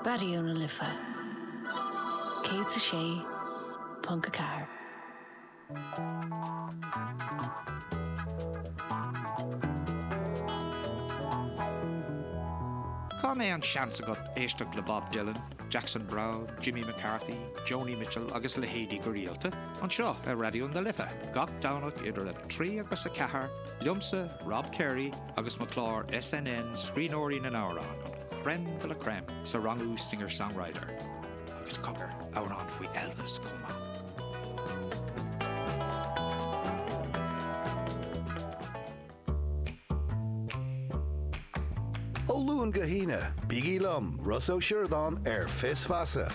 Raidió na Life 106.4. Cá mbeidh an seans agat éisteacht le Bob Dylan, Jackson Browne, Jimmy McCarthy, Joni Mitchell agus a leithéidí go rialta? Anseo ar Raidió na Life, gach Domhnach idir 3 agus 4, liomsa, Rob Carey, agus mo chlár SNN Scríbhneoirí na nAmhrán, an crème de la crème sa rangú singer-songwriter. Agus cogar, amhrán faoi Elvis chomh maith. Ó Luan go hAoine, bígí liom, Rossa Ó Sioradáin ar Fios Feasa.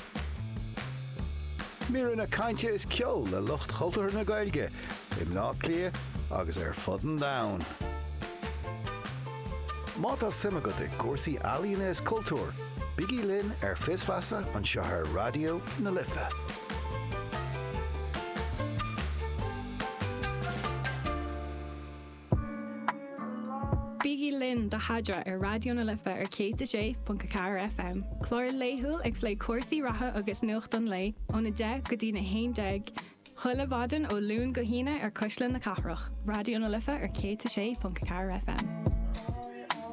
Míreanna cainte is ceoil le lucht chultúrtha na Gaeilge i mBleá Cliath agus ar fud an domhain. Má tá suim agat i gcúrsaí ealaíona is cultúir, bígí linn ar Fios Feasa anseo ar Raidió na Life. Bígí linn do Theadra ar Raidió na Life ar 106.4 FM, clár laethúil ag plé cúrsaí reatha agus nuacht an lae ón 10 go dtí na 11 chuile mhaidin ó Luan go hAoine ar Cuisle na Cathrach, Raidió na Life ar 106.4 FM.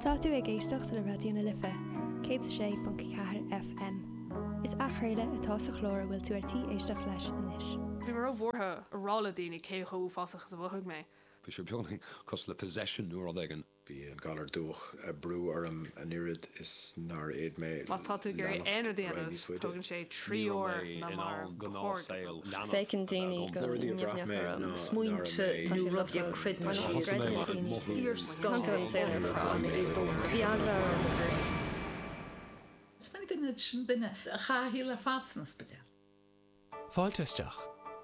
Tá tú ag éisteacht le Raidió na Life 106.4 FM. Is athchraoladh atá sa chlár a bhfuil tú ar tí éisteacht leis anois. Bhí mé róbhuartha a rá le daoine cé chomh uafásach is a mhothaigh mé. Bhí sé beagáinín cosúil le possession nó rud éigin. Bhí an galar dubhach ag brú orm an oiread is nár fhéad mé Má tá tú ag iarraidh leanacht aon rud a ar aghaidh dhéanamh, níos faide. tógann sé Ní 3 raibh uair mé ná in mar ann ba chóir gnáthshaol go. leanbh Féachann a bheith daoine agam. go Na rudaí a bhraith nimhneach mé orm. ná ná Smaointe raibh Tá nó sé rudaí a lofa. chreideann Mar siad. Thosaigh mé gcreideann ag daoine. mothú Fíorscáth An saol ar fad. Bhí eagla orm gur. Is minic an oiread sin duine a chaith a shaol ar fad san ospidéal. Fáilte isteach.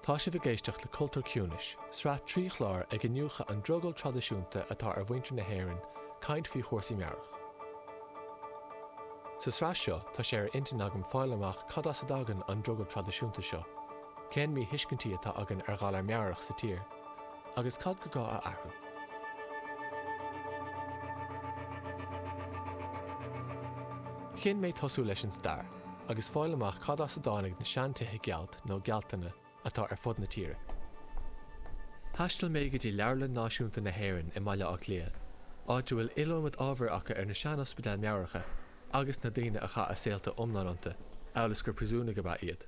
Tá sibh ag éisteacht le Cultúr Ciúnais, sraith 3 chlár ag iniúchadh an drogall traidisiúnta atá ar mhuintir na hÉireann caint faoi chúrsaí meabhrach. Sa sraith seo tá sé ar intinn agam fáil amach cad as a dtagann an drogall traidisiúnta seo, cén míthuiscintí atá againn ar ghalar meabhrach sa tír, agus cad go gá a athrú. Chinn mé tosú leis an stair. agus fáil amach cad as a dtáinig na seantithe gealt nó gealtlanna atá ar fud na tíre. Thaistil mé go dtí Leabharlann Náisiúnta na hÉireann i mBaile Átha Cliath, áit a bhfuil iliomad ábhair acu ar na sean-ospidéil meabhracha agus na daoine a chaith a saolta iomlán iontu, amhail is gur príosúnaigh ab ea iad.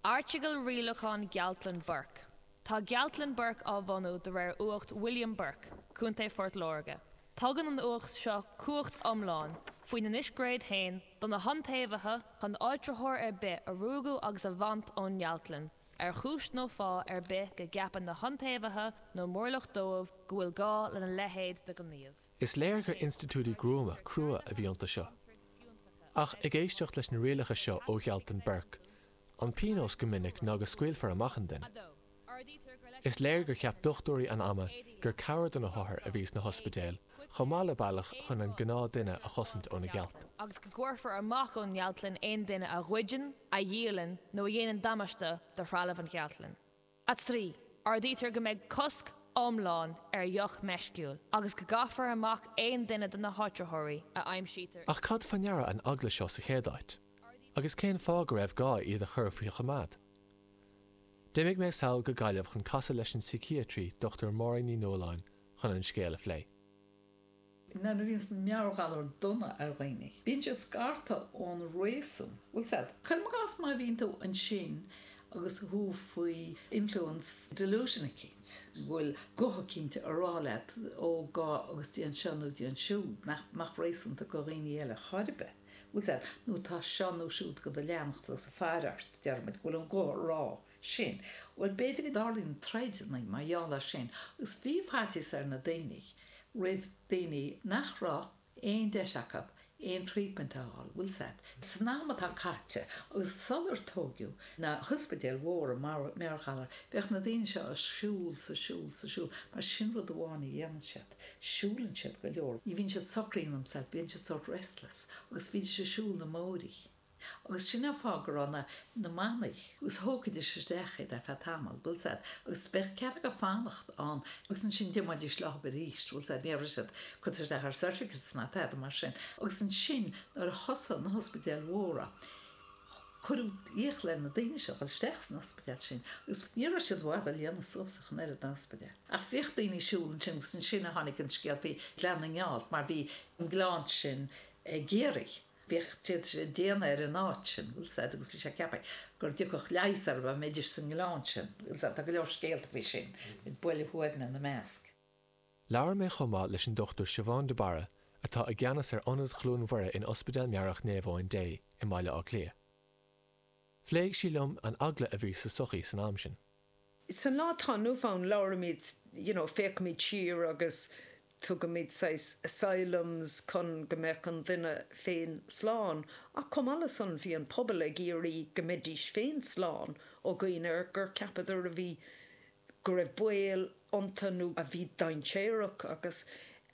Airteagal Rialachán Gealtlann Burke Tá Gealtlann Burke á bhunú de réir Uacht William Burke, Contae Phort Láirge. Tugann an uacht seo cumhacht iomlán, faoina ndiscréid féin, do na hiontaobhaithe chun áitritheoir ar bith a ruaigeadh agus a bhaint ón ngealtlann, ar chúis nó fáth ar bith go gceapann na hiontaobhaithe nó mórlach dóibh go bhfuil gá lena leithéid de ghníomh. Is léir gur institiúidí gruama, crua a bhí iontu seo. Ach ag éisteacht leis na rialacha seo ó Ghealtlann Burke, an pionós go minic ná go scaoilfear amach an duine. Is léir gur cheap dochtúirí an ama gur cabhair do na hothair a bhí sna hospidéil chomh maith le bealach chun an gnáthduine a chosaint ó na gealt. agus go gcuirfear amach ón ngealtlann aon duine a ghoideann, a dhíolann nó a dhéanann damáiste do threalamh an ghealtlann. 3. Ordaítear go mbeidh cosc iomlán ar dheoch meisciúil agus go gcaithfear amach aon duine de na háitritheoirí a aimsítear Ach cad fá ndeara an eagla seo sa chéad áit? Agus cén fáth go raibh gá iad a chur faoi choimeád? D'imigh mé sall go Gaillimh chun casadh leis an síciatraí Dr Máirín Ní Nualláin chun an scéal a phlé. Nuair a bhíonns meabhairghalar dona ar dhaoine, bíonn siad scartha ón réasún. Bhfuil 's a'd. Cuirim i gcás má bhíonn tú ansin agus thú faoi influence delusion eicínt, go bhfuil guth eicínt a rá leat ó gabh agus déan seo nó déan siúd, nach mbeadh réasúnta go dhaoine eile chor ar bith. Bhfuil 's a'd. Nó tá seo nó siúd go do leanacht agus ag faire ort, déarfaimid, go bhfuil an guth a rá sin. Bhuel, b'fhéidir go dtarlaíonn troideanna mar gheall air sin agus bhí faitíos ar na daoine roimh daoine nach raibh aon deis acu aon treatment a fháil, bhfuil 's a'd. San am atá caite agus sular tóigeadh na hospidéil mhóra meabhairghalar, bheadh na daoine seo ag siúl 's ag siúl 's ag siúl mar sin rud amháin a dhéanann siad, siúlann siad go leor, ní bhíonn siad socraithe in themselves, bíonn siad sort restless agus bhídís ag siúl na mbóithrí. Agus sin an fáth go raibh na na manaigh, agus thógfaidís isteach iad ar feadh tamaill, bhfuil 's a'd, agus bheadh cead acu fanacht ann agus ansin d'imeoidís leo arís, bhfuil 's a'd, ní raibh siad curtha isteach ar certificates ná tada mar sin. Agus ansin nuair a thosaigh na hospidéil mhóra, cuireadh iachall ar na daoine seo dhul isteach san ospidéal sin agus ní raibh siad i bhfad á líonadh suas ach an oiread na hospidéil. Ach bhíodh daoine ag siúl ansin agus ansin a tháinig an scéal faoi Ghleann na nGealt mar bhí an gleann sin i gCiarraí. Bhíodh siad ag déanamh ar an áit sin, bhfuil 's a'd, agus bhí sé ceaptha go dtiocfadh leigheas orthu dá mbeidís sa ngleann sin, bhfuil 's a'd. Tá go leor scéalta faoi sin, buille Thuamhna ina measc. Labhair mé chomh maith leis an Dr Siobhán de Barra atá i gceannas ar Ionad Chluain Mhuire in Ospidéal Meabhrach Naomh Eoin Dé i mBaile Átha Cliath. Phléigh sí liom an eagla a bhí sa tsochaí san am sin. San lá atá inniu ann labhraímid, you know, féachaimid siar agus tugaimid saghas asylums chun go mbeadh an duine féin slán ach chomh maith le san bhí an pobal ag iarraidh go mbeidís féin slán ó dhaoine gur cheapadar a bhí, go raibh baol iontu nó a bhí dainséarach agus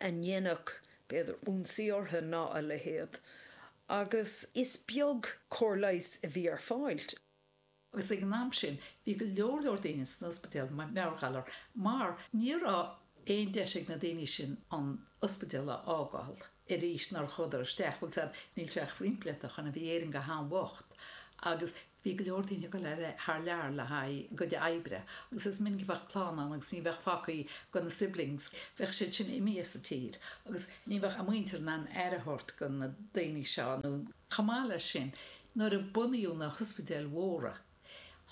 a ndéanfadh b'fhéidir ionsaí orthu ná a leithéid. Agus is beag cóir leighis a bhí ar fáil. Agus ag an am sin bhí go leor leor daoine san ospidéal meabhairghalar mar ní raibh aon deis ag na daoine sin an ospidéal a fhágáil arís nuair a chuadar isteach. Bhfuil 's a'd, níl sé ach roinnt blianta ó shoin a bhí Éirinn go han-bhocht agus bhí go leor daoine ag dul thar lear le haghaidh a gcuid oibre agus is minic a bheadh clann ann agus ní bheadh fágtha go na siblings, bheadh siad sin imithe as an tír agus ní bheadh a muintir in ann aire a thabhairt go na daoine seo nó chomh maith leis sin Nuair a bunaíodh na hospidéil mhóra,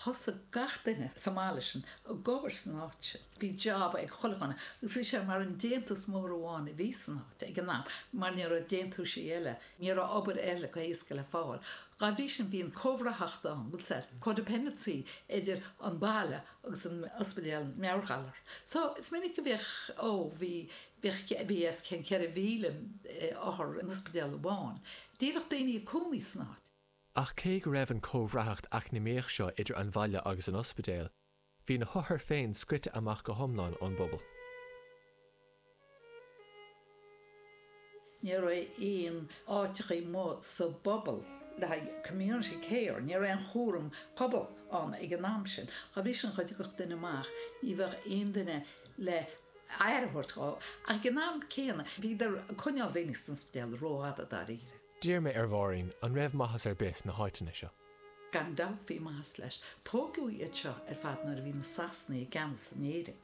thosaigh gach duine sa mbaile sin ag obair san áit sin. Bhí job ag chuile dhuine agus bhí sé mar an déantús mór amháin a bhí san áit ag an am mar ní raibh déantúisí eile, ní raibh obair eile go héasca le fáil. Dá bhrí sin bhí an comhbhraitheacht ann, bhfuil 's a'd, codependency idir an baile agus an ospidéal meabhairghalar. So is minic a bhíodh, ó bhí, bhíodh, bhí os cionn 4,000 othar in ospidéal amháin. Díreach daoine ag cónaí san áit. Ach cé go raibh an chomhbhraitheacht eacnamaíoch seo idir an bhaile agus an ospidéal, bhí na hothair féin scoite amach go hiomlán ón bpobal. Ní raibh aon áiteachaí amuigh sa bpobal le haghaidh community care, ní raibh aon chúram pobail ann ag an am sin. Dá bhrí sin, dá dtiocfadh duine amach, ní bheadh aon duine le aire a thabhairt dhó. Ach ag an am céanna, bhíodar ag coinneáil daoine san ospidéal rófhada dáiríre. D'iarr mé ar Mháirín an raibh maitheas ar bith sna háiteanna seo. Gan dabht bhí maitheas leis. Tógadh iad seo ar fad nuair a bhí na Sasanaigh i gceannas in Éirinn,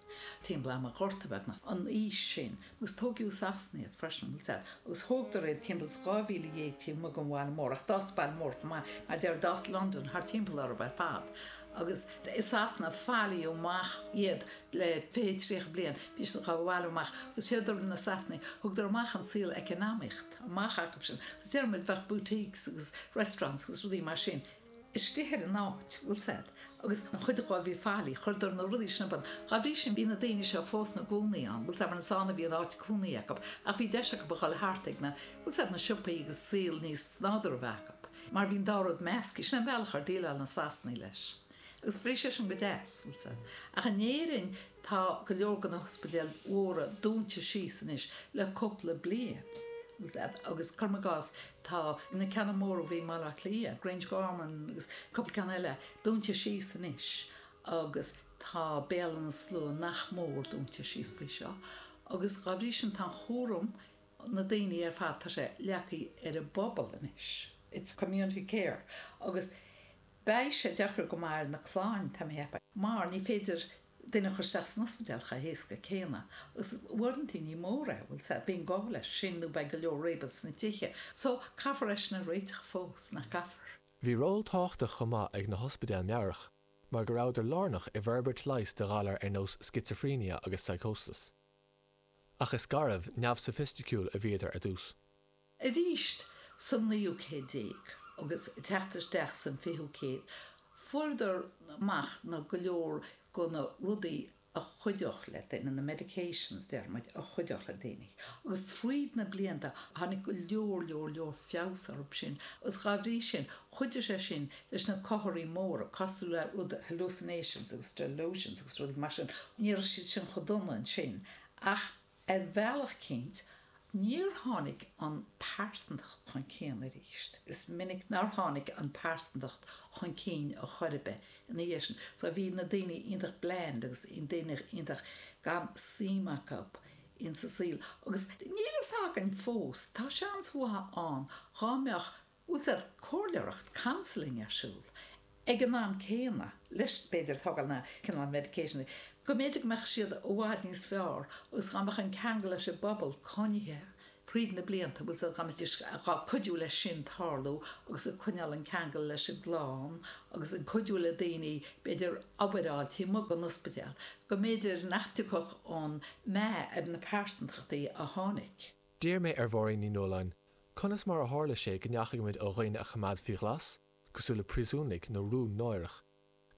timpeall am an Ghorta beagnach, an aois sin. Agus tógadh i Sasana iad freisin, bhfuil 's a'd. Agus thógadar iad timpeall is 12,000 taobh amuigh den bhaile mór, ach d'fhás baile mór chomh maith, mar deir, d'fhás Londain thart timpeall orthu ar fad. Agus i Sasana fallaíodh amach iad le 20, 30 bliain, bhí siad á bhailiú amach agus séard a rinne na Sasanaigh, thugadar amach an saol eacnamaíocht amach acu sin agus deir muid bheadh boutiques agus restaurants agus rudaí mar sin istigh ar an áit, bhfuil 's a'd, agus an chuid dhó a bhí faillithe, chuireadar na rudaí sin ar bun. Dá bhrí sin bhí na daoine seo fós ina gcónaí ann, bhfuil 's a'd, mar is ann a bhí an áit cónaí acu ach bhí deis acu a dhul thart ag na, bhfuil 's a'd, na siopaí agus saol níos nádúrtha a bheith acu. Mar bhí an dá rud measctha, sin an bealach ar déileáil na Sasanaigh leis. Agus bhí sé sin go deas, bhfuil 's a'd. Ach in Éirinn tá go leor de na hospidéil mhóra dúnta síos anois le cúpla bliain, bhfuil 's a'd. Agus cuirim i gcás, tá na ceanna móra a bhí i mBaile Átha Cliath, Grangegorman agus cúpla ceann eile, dúnta síos anois agus tá Béal Átha na Slua nach mór dúnta síos faoi seo. Agus dá bhrí sin tá an chúram na daoine ar fad, tá sé leagtha ar an bpobal anois, it's community care agus beidh sé deacair go maith ar na clann, tá mé a cheapadh, mar ní féidir duine a chur isteach san ospidéal chomh héasca céanna agus uaireanta ní mór é, bhfuil 's a'd, bíonn gá leis sin nó beidh go leor réabadh sna tithe. So, caithfear é sin a réiteach fós, nach gcaithfear? Bhí ról tábhachtach chomh maith ag na hospidéil meabhrach mar go rabhadar lárnach i bhforbairt leighis do ghalair ar nós scitsifréine agus psychosis. Ach is garbh, neamhsoifisticiúil a bhíodar ar dtús. Arís sa naoú céad déag agus ag teacht isteach san fichiú céad, fuaireadar amach na go leor go na rudaí a chuideodh le duine, na medications deir muid, a chuideodh le daoine. Agus tríd na blianta tháinig go leor leor leor feabhas orthu sin agus dhá bhrí sin chuidigh sé sin leis na comharthaí móra cosúil le rud hallucinations agus delusions agus rudaí mar sin, ní raibh siad sin chomh dona ansin ach ar bhealach eicínt. Níor tháinig an pearsantacht chun cinn arís. Is minic nár tháinig an pearsantacht chun cinn a chor ar bith ina dhiaidh sin. So bhí na daoine iontach bland agus daoine iontach gan suim acu insa saol. Agus níl a fhios againn fós, tá seans mhaith ann dhá mbeadh bhfuil fhios a'd, comhairleoireacht, counselling ar siúl ag an am céanna leis, b'fhéidir, tógáil na cineál medication, go mb'fhéidir go mbeadh siad i bhfad níos fearr agus dhá mbeadh an ceangal leis an bpobal coinnithe thríd na blianta, bhfuil fhios a'd, dá mbeidís ag cuidiú leis sin tarlú agus ag coinneáil an ceangal leis an gclann agus ag cuidiú le daoine b'fhéidir obair a fháil taobh amuigh den ospidéal, go mb'fhéidir nach dtiocfadh an meath ar na pearsantachtaí a tháinig. D'iarr mé ar Mháirín Ní Nualláin conas mar a tharla sé go ndeachaigh muid ó dhaoine a choimeád faoi ghlas, cosúil le príosúnaigh nó rún náireach,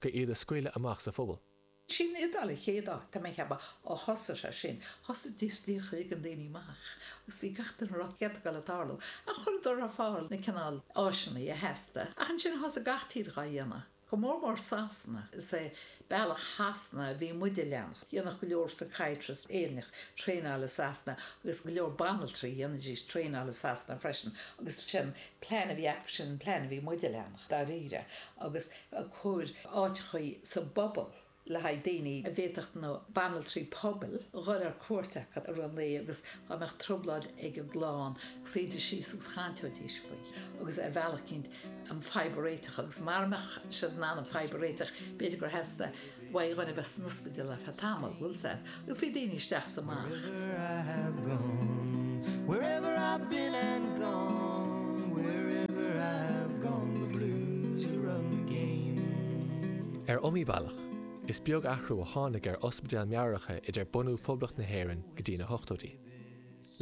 go iad a scaoileadh amach sa phobal. Sí an Iodáil an chéad áit, tá mé ag ceapadh, a thosaigh sé sin. Thosaigh díreach ag ligean daoine amach agus bhí gach duine ag rá céard atá ag gabháil a tarlú. Ach chuireadar ar fáil na cineál áiseanna a theastaigh. Ach ansin thosaigh gach tír dhá dhéanamh. Go mór mór Sasana. Is é bealach Shasana a bhí muid a leanacht. Dhéanadh go leor psychiatrists Éireannach traenáil i Sasana agus go leor banaltraí dhéanaidís traenáil i Sasana freisin agus sin plean a bhí acu sin an plean a bhí muid a leanacht dáiríre agus ag cur áiteachaí sa bpobal le haghaidh daoine a bhféadfadh na banaltraí pobail a dhul ar cuairt acu i rith an lae agus dá mbeadh trioblóid ag an gclann suídís síos agus chainteoidís faoi agus ar bhealach eicínt an fadhb a réiteach agus mara mbeadh siad in ann an fadhb a réiteach b'fhéidir gur theastaigh uaidh dhuine a bheith san ospidéal ar feadh tamaill, bhfuil 's a'd, agus bhí daoine isteach 's amach. Wherever I have gone, wherever I've been and gone, wherever I have gone, the blues run the game. Ar iomaí bealach, is beag athrú a tháinig ar ospidéil meabhracha idir bunú Phoblacht na hÉireann go dtí na hochtóidí.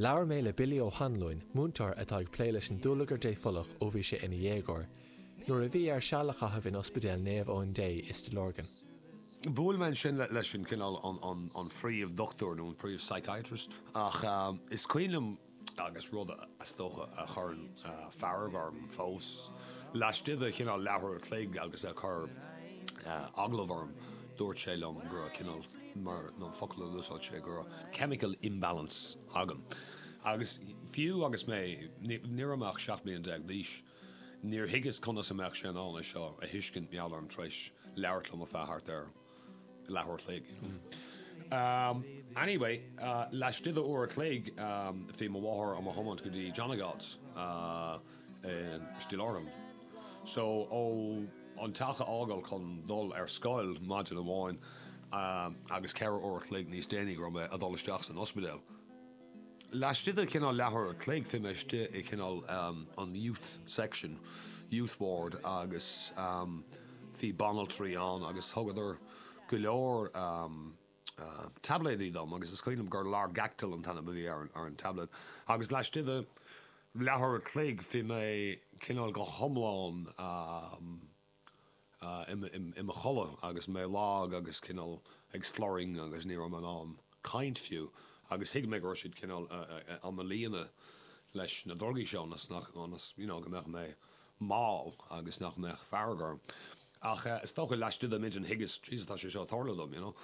Labhair mé le Billy Ó hAnluain, múinteoir atá ag plé leis an dúlagar dépholach ó bhí sé ina dhéagóir, nuair a bhí air seal a chaitheamh in Ospidéal Naomh Eoin Dé i Stigh Lorgan. Bhuail mé ansin leis an cineál an phríomh-dhochtúir nó an príomh-psychiatrist ach is cuimhin liom, agus rud is dócha a chuireann fearg orm fós, laistigh de chineál leathuair a chloig agus é ag cur agallamh orm, dúirt sé liom go raibh cineál, mar an focal a d'úsáid sé, go raibh chemical imbalance agam. Agus fiú agus mé, ní raibh mé ach 17 mbliana d'aois, níor thuigeas conas a mbeadh sé in ann é seo a thuiscint, mar gheall orm tar éis labhairt liom ar feadh thart ar leathuair a chloig, you know. Anyway, laistigh de uair a chloig, bhí mo mháthair á mo thiomáint go dtí John of God's i Stigh Lorgan. So, ó an teach a fhágáil chun dul ar scoil maidin amháin agus 4 uair a chloig níos déanaí go raibh mé ag dul isteach san ospidéal. Laistigh de chineál leathuair a chloig bhí mé istigh i cineál an youth section, youth ward agus bhí banaltraí ann agus thugadar go leor taibléidí dom agus is cuimhin liom gur Largactil an t-ainm a bhí ar an tablet agus laistigh de leathuair a chloig bhí mé cineál go hiomlán i mo chodladh agus mé lag agus cineál ag slurring agus ní raibh mé in ann caint fiú agus thuig mé go raibh siad cineál á mo líonadh leis na drugaí seo ionas nach, ionas you know go mbeadh mé mall agus nach mbeadh fearg orm. Ach is dócha laistigh de m'intinn thuigeas, Jesus tá sé seo ag tarlú dom, you know.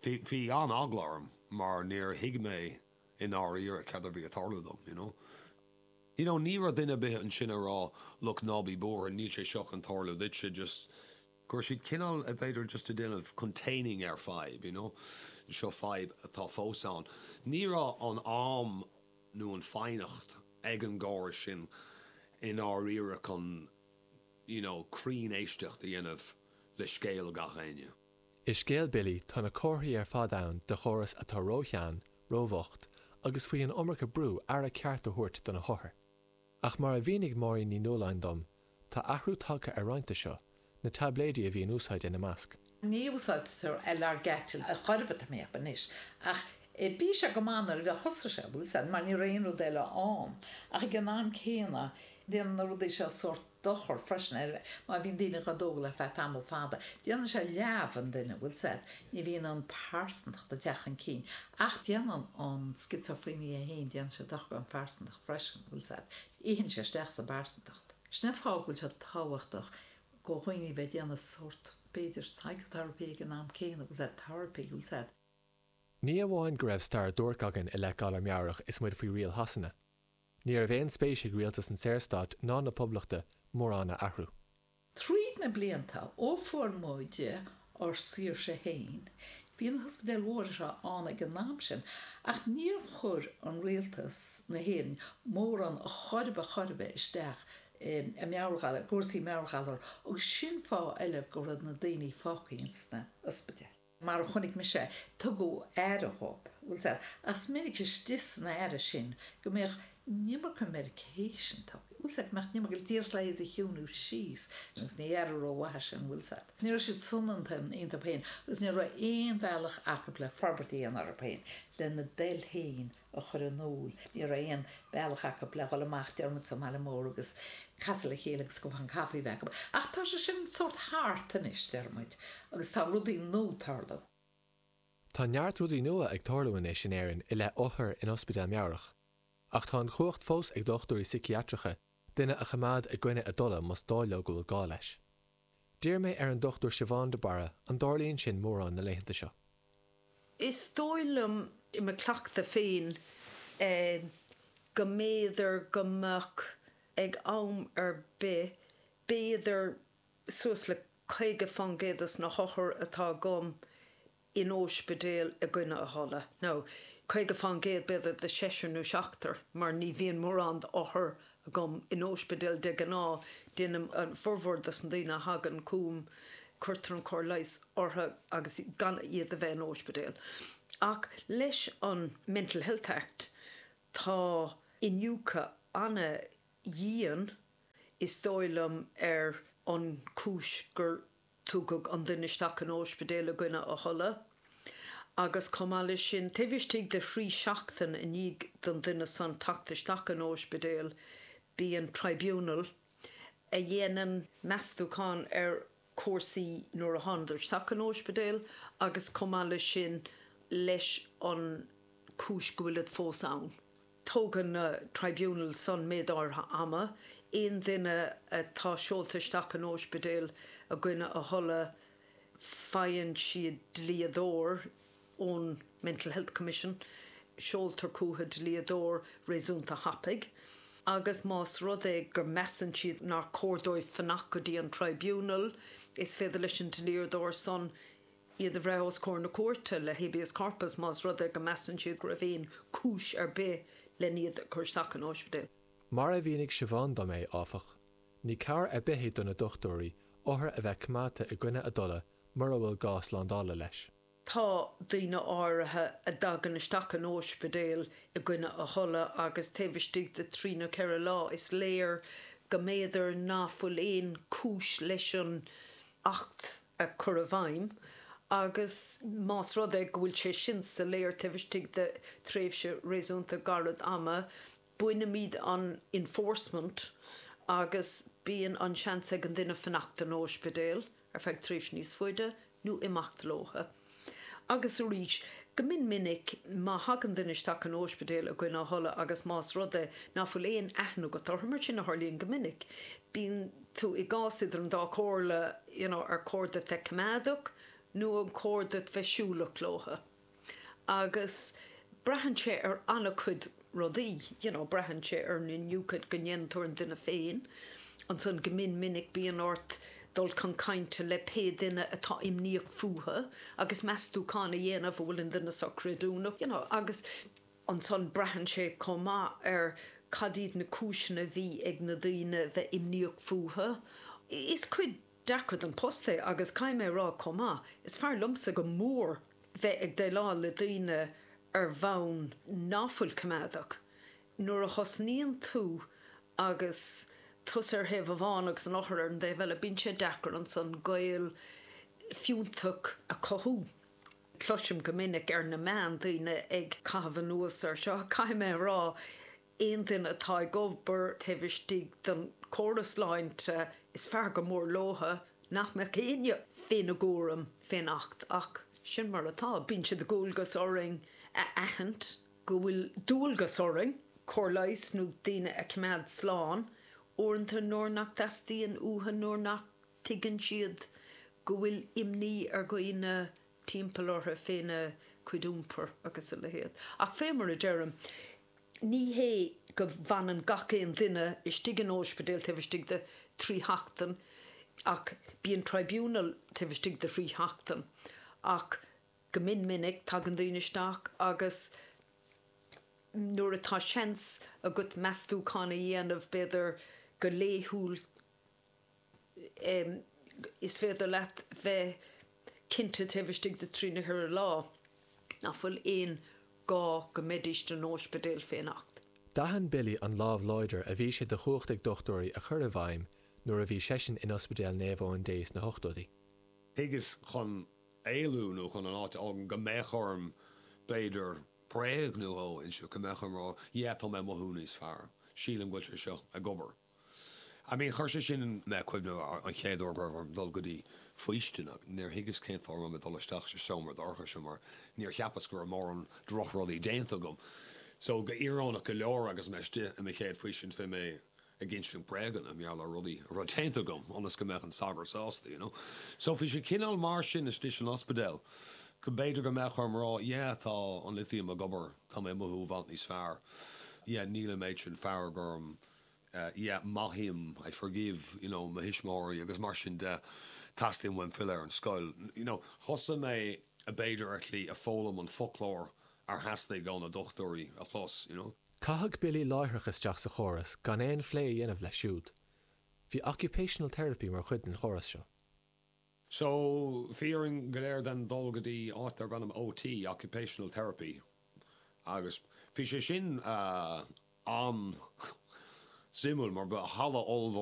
Bhí, bhí an-eagla orm mar níor thuig mé i ndáiríre cad a bhí ag tarlú dom, you know. You know, ní raibh duine ar bith ansin a rá, look, ná bí buartha, níl sé seo chun tarlú duitse, just, go raibh siad cineál, b'fhéidir, just ag déanamh containing ar fadhb, you know, seo fadhb atá fós ann. Ní raibh an am nó an foighneacht ag an gcóras sin i ndáiríre chun, you know, cruinn éisteacht a dhéanamh le scéal gach éinne. I scéal Billy tá na comharthaí ar fad ann de chóras atá róshean, róbhocht agus faoi an iomarca brú aire ceart a thabhairt do na hothair. Ach mar a mhínigh Máirín Ní Nualláin dom, tá athrú tagtha ar roinnt de seo, na taibléidí a bhí in úsáid ina measc. Ní úsáidtear Largactil ar chor ar bith tá mé a cheapadh anois, ach bhí sé go maith nuair a thosaigh sé, bhfuil 'fhios a'd, mar ní raibh aon rud eile ann. Ach ag an am céanna, déanann na rudaí seo sórt dochar freisin ar má bhíonn daoine dhá dtógáil ar feadh tamall fada. Déanann sé leamh an duine, bhfuil 'fhios a'd, ní bhíonn an phearsantacht ag teacht chun cinn. Ach déanann an schizophréinia féin, déanann sé dochar don phearsantacht freisin, bhfuil 'fhios a'd. Itheann sé isteach sa bpearsantacht. Sin an fáth go bhfuil sé tábhachtach go dhaoine bheith ag déanamh sórt, b'fhéidir, psychotherapy ag an am céanna, bhfuil 'fhios a'd, therapy, bhfuil 'fhios a'd. Ní amháin go raibh stair duairc againn i leith galar meabhrach is muid faoi riail Shasana, ní raibh aon spéis ag rialtas an Saorstáit ná na Poblachta mórán a athrú. Tríd na blianta, ó fuair muid ár saoirse féin, bhí na hospidéil mhóra seo ann ag an am sin, ach níor chuir an rialtas na hÉireann mórán chor ar bith chor ar bith isteach i meabhairghalar, cúrsaí meabhairghalar agus sin fáth eile go raibh na daoine fágtha ins na ospidéil. Mar a chonaic mise, tugadh aire dhóibh, bhfuil 's a'd, ach is minic istigh san aire sin go mbeadh an iomarca medication tugtha, bhfuil 's a'd, go mbeadh an iomarca díreach le iad a chiúnú síos, agus ní aire rómhaith é sin, bhfuil 's a'd. Ní raibh siad soineanta iontu féin agus ní raibh aon bhealach acu le forbairt a dhéanamh orthu féin, lena dtoil féin a chur in iúl. Ní raibh aon bhealach acu le dhul amach, deir muid, sa mbaile mór agus casadh le chéile agus cupán caife a bheith acu. Ach tá sé sin sórt thart anois, deir muid, agus tá rudaí nua ag tarlú. Tá neart rudaí nua ag tarlú anois in Éirinn i leith othair in ospidéal meabhrach. Ach tá an chumhacht fós ag dochtúirí siciatracha duine a choimeád i gcoinne a dtola más dóigh leo go bhfuil gá leis. D'iarr mé ar an Dr Siobhán de Barra an dtarlaíonn sin mórán na laethanta seo. Is dóigh liom, i mo chleachtadh féin, go mb'fhéidir go mbeadh ag am ar bith, b'fhéidir suas le 50% des na hothair atá agam in óispidéal i gcoinne a thola. Now, 50% b'fhéidir de seisear nó seachtar, mar ní bhíonn mórán d'othair agam in óispidéal de ghnáth, déanaim an formhór des na daoine a thagann chugam, cuirtear an cóir leighis orthu agus gan iad a bheith in óispidéal. Ach leis an Mental Health Act tá iniúchadh ana-dhian, is dóigh liom, ar an chúis gur Tugadh an duine isteach in óispidéal i gcoinne a thola agus chomh maith leis sin, taobh istigh de thrí seachtain i ndiaidh don duine san teacht isteach in óispidéal, bíonn tribunal a dhéanann meastúchán ar chúrsaí nuair a thánadar isteach in óispidéal agus chomh maith leis sin leis an chúis go bhfuilid fós ann. Tógann na tribunals san méid áirithe ama. Aon duine atá seolta isteach in óispidéal i gcoinne a thola, faigheann siad dlíodóir ón Mental Health Commission, seoltar chucu dlíodóir réasúnta thapaidh agus más rud é go measann siad nár chóir dóibh fanacht go dtí an tribunal, is féidir leis an dlíodóir san iad a bhreith os comhair na cúirte le habeas corpus más rud é go measann siad go raibh aon chúis ar bith len iad a chur isteach in óispidéal. Mar a mhínigh Siobhán dom é, áfach, ní cabhair ar bith é do na dochtúirí othair a bheith coimeádta i gcoinne a dtola mura bhfuil gá slándála leis. Tá daoine áirithe a dtagann isteach in óispidéal i gcoinne a thola agus taobh istigh de thrí nó ceithre lá is léir go mb'fhéidir ná fuil aon chúis leis an Acht a chur i bhfeidhm agus más rud é go bhfuil sé sin soiléir taobh istigh de thréimhse réasúnta gairid ama, bainimid an enforcement agus bíonn an seans ag an duine fanacht in óispidéal ar feadh tréimhse níos faide nó imeacht leotha. Agus arís, go mion minic, má thagann duine isteach in óispidéal i gcoinne a thola agus más rud é ná fuil aon aithne agat orthu, mar sin a tharlaíonn go minic, bíonn tú i gcás idir an dá chomhairle, you know, ar chóir duit bheith coimeádach nó an chóir duit bheith siúlach leotha. Agus braitheann sé ar an-chuid rudaí, you know, braitheann sé ar an iniúchadh go ndéanann tú ar an duine féin, ansan go mion minic bíonn ort dul chun cainte le pé duine atá imníoch fúthu agus meastúchán a dhéanamh an bhfuil an duine seo creidiúnach, you know, agus ansan braitheann sé chomh maith ar cad iad na cúiseanna a bhí ag na daoine bheith imníoch fúthu. Is cuid deacair den post é agus caithfidh mé a rá chomh maith, is fearr liomsa go mór bheith ag déileáil le daoine ar bhonn ná fuil coimeádach. Nuair a thosnaíonn tú agus tusa ar thaobh amháin agus an othar ar an dtaobh eile, bíonn sé deacair ansan gaol fiúntach a chothú. Cloisim go minic ar na meáin daoine ag caitheamh anuas ar seo, caithfidh mé a rá, Aon duine atá ag obair taobh istigh den chóras sláinte, is fearr go mór leotha nach mbeadh éinne féna gcúram fén Acht, ach sin mar atá. Bíonn sé de dhualgas orainn a aithint go bhfuil dualgas orainn cóir leighis nó daoine a choimeád slán uaireanta nuair nach dteastaíonn uathu, nuair nach dtuigeann siad go bhfuil imní ar dhaoine timpeall orthu féna. cuid iompair agus a leithéid. Ach fé mar a deirim, ní hé go bhfanann gach aon duine istigh in óispidéal taobh istigh de thrí sheachtain, ach bíonn tribunal taobh istigh de thrí sheachtain. Ach go mion minic tagann daoine isteach agus nuair atá seans agat meastúchán a dhéanamh, b'fhéidir go laethúil, is féidir leat bheith cinnte taobh istigh de thrí nó cheithre lá nach bhfuil aon gá go mbeidís san óispidéal fén Acht. D'aithin Billy an lámh láidir a bhí sé de chumhacht ag dochtúirí a chur i bhfeidhm nuair a bhí seisean in Ospidéal Naomh Eoin Dé sna hochtóidí. Thuigeas chun éalú nó chun an áit a fhágaint go mbeadh orm b'fhéidir bréag nó dhó a inse, go mbeadh orm rá yeah tá mé ag mothú níos fearr, sílim go bhfuil sé seo ag obair. I mean chuir sé sin mé ag cuimhneamh ar an chéad uair go raibh orm dul go dtí faoistin agus níor thuigeas cén fáth a raibh mé ag dul isteach sa seomra dorcha seo mar níor cheapas go raibh mórán drochrudaí déanta agam. So go íorónach go leor agus mé istigh i mo chéad faoistin bhí mé ag insint bréaganna mar gheall ar rudaí a raibh déanta agam ionas go mbeadh an sagart sásta, you know. So bhí sé cineál mar sin istigh san ospidéal go mb'fhéidir go mbeadh orm rá yeah tá an lithium ag obair, tá mé ag mothú i bhfad níos fearr, yeah níl an méid sin fearg orm, yeah maithim, I forgive, you know, mo thuismitheoirí agus mar sin de, teastaíonn uaim filleadh ar an scoil. You know, thosaigh mé b'fhéidir ar shlí ag foghlaim an foclóir ar theastaigh ó na dochtúirí a chlos, you know. Caitheadh Billy láithreach isteach sa chóras gan aon phlé a dhéanamh leis siúd. Bhí occupational therapy mar chuid den chóras seo. So, bhí orainn go léir then dul go dtí áit darb ainm OT, Occupational Therapy, agus bhí sé sin an-suimiúil mar ba halla ollmhór.